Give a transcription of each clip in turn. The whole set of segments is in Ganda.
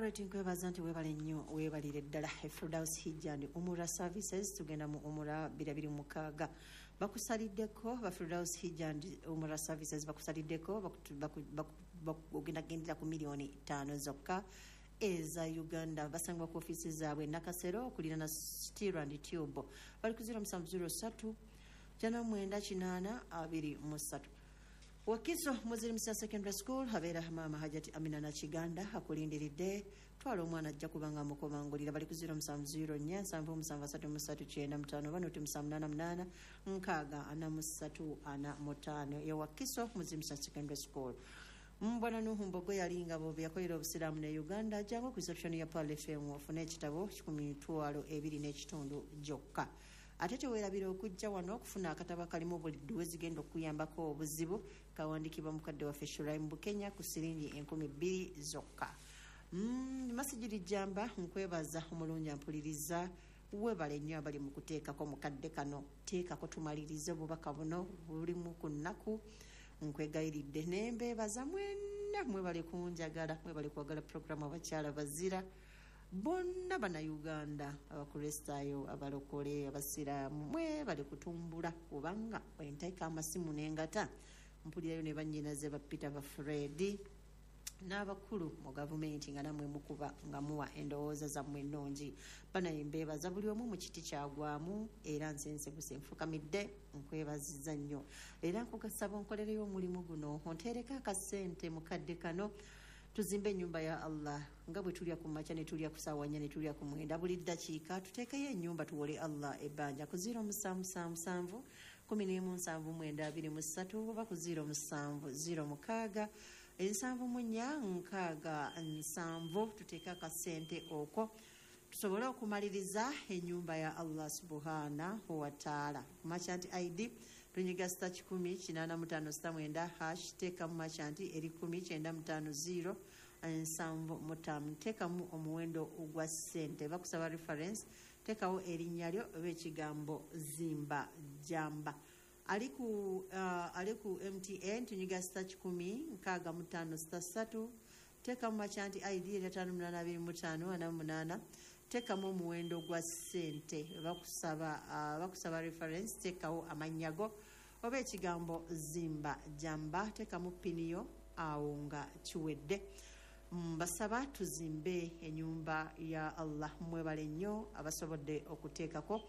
Alright, nkwebaza nti weebale nnyo, weebalire ddala. Firdaus Hijja and Umura Services, tugenda mu Umura 2026. Bakusaliddeko ba Firdaus Hijja and Umura Services, bakusaliddeko, ogenda gendera ku miliyoni 5 zokka eza Uganda. Basangibwa ku ofiisi zaabwe Nakasero okulirana Steel and Tube. Bali ku 0703 980 23. Wakiso Muzirimisa Secondary School abeera maama Hajati Amina Nakiganda akulindiridde. Twala omwana, ajja kubanga mukomangulira. Bali ku 0704 77 33 95 oba noti 788 60 43 45. Ewakiso Muzirimisa Secondary School. Mbwana Nuhu Mbogo yalinga bobe yakolera obusiraamu ne Uganda. Jangu ku reception ya Pearl FM ofune ekitabo 20,500 gyokka. Ate teweerabira okujja wano okufuna akatabo akalimu buli dduwa ezigenda okuyambako obuzibu, kawandikibwa mukadde waffe Shuraim Bukenya, ku siringi 2000 zokka. Masigiri jamba, nkwebaza omulungi ampuliriza. Webale nnyo abali mu kuteekako mukadde kano. Teekako tumalirize obubaka buno bulimu ku nnaku. Nkwegayiridde nembeebaza mwenna, mwebale kunjagala, mwebale kwagala puroguramu Abakyala Bazira. Bonna Bannayuganda, Abakristaayo, Abalokole, Abasiraamu, mwebale kutumbula, kubanga wenteeka amasimu nengata mpulirayo ne bannyinaze ba Peter, ba Fredi n'abakulu mu gavumenti, nga nammwe mukuba nga muwa endowooza zammwe ennungi. Banaye mbeebaza buli omu mu kiti kyagwamu, era nsensebuse nfukamidde nkwebaziza nnyo. Era nkugasaba onkolereyo omulimu guno, onteereko akasente mukadde kano tuzimbe ennyumba ya Allah. Nga bwe tulya ku makya, ne tulya ku saawa 4, ne tulya ku 9, buli ddakiika tuteekeyo ennyumba, tuwole Allah ebbanja ku 0777 11 79 23 oba ku 07 06 74 60 70. Tuteeke akasente okwo tusobole okumaliriza ennyumba ya Allah subhanahu wataala. Merchant ID, tunyiga star 185 star 9 hash, teekamu merchant eri 10950 75, teekamu omuwendo ogwa ssente. Bakusaba reference, teekawo erinnya lyo oba ekigambo "zimba jamba". Ali ku MTN, tunyiga star 165 star 3, teekamu merchant ID eri 5825 48, teekamu omuwendo gwa ssente. Bakusaba reference, teekawo amannya go oba ekigambo "zimba jamba", teekamu PIN yo, awo nga kiwedde. Mbasaba tuzimbe enyumba ya Allah. Mwebale nnyo abasobodde okuteekako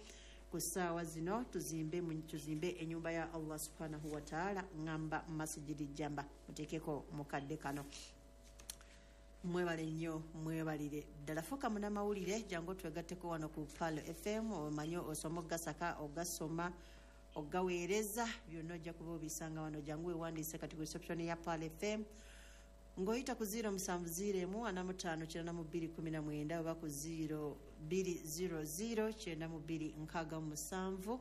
ku ssaawa zino. Tuzimbe enyumba ya Allah subhanahu wataala. Ŋŋamba Masigiri Jamba, muteekeko mukadde kano. Mwebale nnyo, mwebalire ddala. Fuuka munamawulire, jangu twegatteko wano ku Palo FM. Omanye osoma ogasaka, ogasoma, ogaweereza, byonna ojja kuba obisanga wano. Jangu wewandiise kati ku reception ya Palo FM ng'oyita ku 0701 45 92 19 oba ku 0200 92 67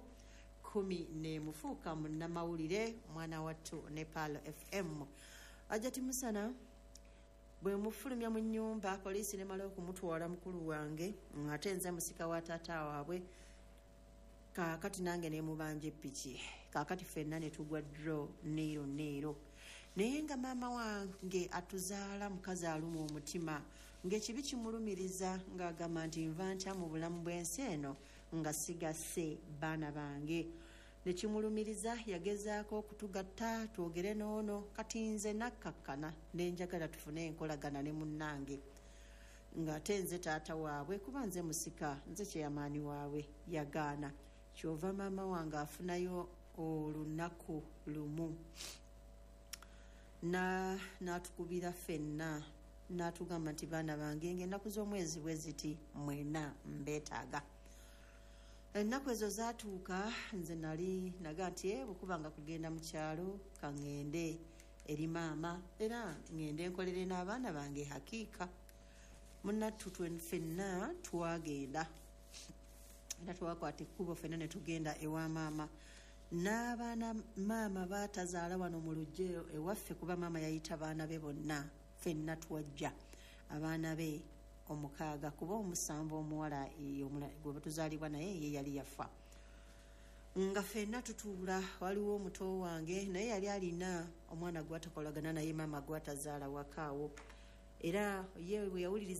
11. Fuuka munnamawulire, mwana wattu, ne Palo FM. Ajati Musana bwe mufulumya mu nnyumba, poliisi nemala okumutwala mukulu wange, ate nze musika wa taata waabwe. Kaakati nange nemubanja epiki, kaakati ffenna ne tugwa draw neero neero. Naye nga maama wange atuzaala mukazi aluma omutima, ng'ekibi kimulumiriza, ng'agamba nti nva ntya mu bulamu bw'ensi eno nga sigasse baana bange? Nekimulumiriza, yagezaako okutugatta twogere n'ono. Kati nze nakkakkana nenjagala tufune enkolagana ne munnange, ng'ate nze taata waabwe, kuba nze musika, nze kyeyamaani waabwe. Yagaana. Kyova maama wange afunayo olunaku lumu n'atukubira ffenna n'atugamba nti, "Baana bange, ng'ennaku z'omwezi bwe ziti mwena mbeetaaga." Ennaku ezo zaatuuka, nze nali naga nti, "Eh, bwekuba nga kugenda mu kyalo, kaŋŋende eri maama, era ŋŋende nkolere n'abaana bange." Hakiika munnattu ffenna twagenda, era twakwata ekkubo ffenna ne tugenda ewa maama n'abaana. Maama baatazaala wano mu luggya ewaffe, kuba maama yayita baana be bonna. Ffenna twajja, abaana be omukaaga, kuba omusanvu omuwala gwe batuzaalibwa naye ye yali yafa. Nga ffenna tutuula, waliwo omuto wange naye yali alina omwana gwatakolagana naye, maama gwatazaala wakaawo, era ye bwe yawuliriza.